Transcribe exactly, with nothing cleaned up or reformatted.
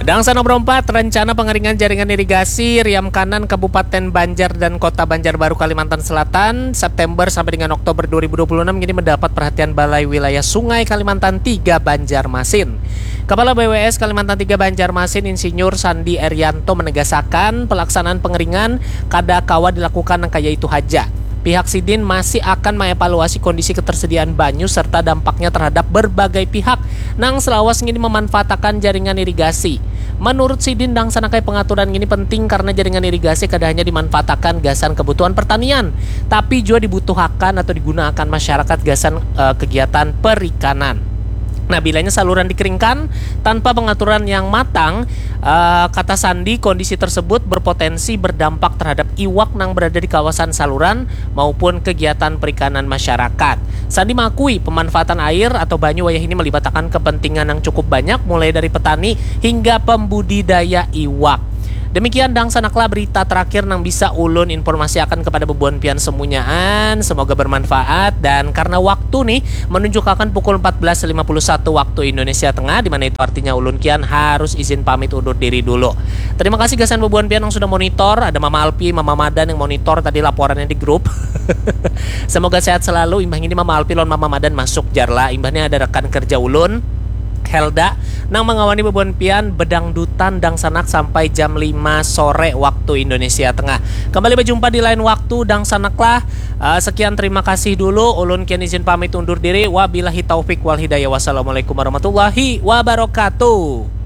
Dangsa nomor empat, rencana pengeringan jaringan irigasi Riam Kanan Kabupaten Banjar dan Kota Banjarbaru, Kalimantan Selatan, September sampai dengan Oktober dua ribu dua puluh enam ini mendapat perhatian Balai Wilayah Sungai Kalimantan tiga Banjarmasin. Kepala B W S Kalimantan tiga Banjarmasin, Insinyur Sandi Erianto, menegasakan pelaksanaan pengeringan kada kawa dilakukan nang kaya itu haja. Pihak sidin masih akan mengevaluasi kondisi ketersediaan banyu serta dampaknya terhadap berbagai pihak nang selawas ngini memanfaatakan jaringan irigasi. Menurut sidin, dangsanakai pengaturan ngini penting karena jaringan irigasi kada hanya dimanfaatakan gasan kebutuhan pertanian, tapi jua dibutuhakan atau digunakan masyarakat gasan eh, kegiatan perikanan. Nah, bilanya saluran dikeringkan tanpa pengaturan yang matang, eh, kata Sandi, kondisi tersebut berpotensi berdampak terhadap iwak nang berada di kawasan saluran maupun kegiatan perikanan masyarakat. Sandi mengakui pemanfaatan air atau banyu wayah ini melibatkan kepentingan yang cukup banyak, mulai dari petani hingga pembudidaya iwak. Demikian dangsanaklah berita terakhir nang bisa ulun informasiakan kepada bebuan pian semunyaan. Semoga bermanfaat, dan karena waktu nih menunjukkan pukul empat belas lima puluh satu waktu Indonesia Tengah, di mana itu artinya ulun kian harus izin pamit undur diri dulu. Terima kasih gasan bebuan pian yang sudah monitor. Ada Mama Alpi, Mama Madan yang monitor tadi laporannya di grup. Semoga sehat selalu. Imbah ini Mama Alpi lawan Mama Madan masuk jar lah. Imbah ini ada rekan kerja ulun, Helda, nang mengawani bebuan pian bedangdutan dangsanak sampai jam lima sore waktu Indonesia Tengah. Kembali berjumpa di lain waktu, dangsanak lah. Eh, sekian, terima kasih dulu. Ulun kian izin pamit undur diri. Wabillahi taufik wal hidayah. Wassalamualaikum warahmatullahi wabarakatuh.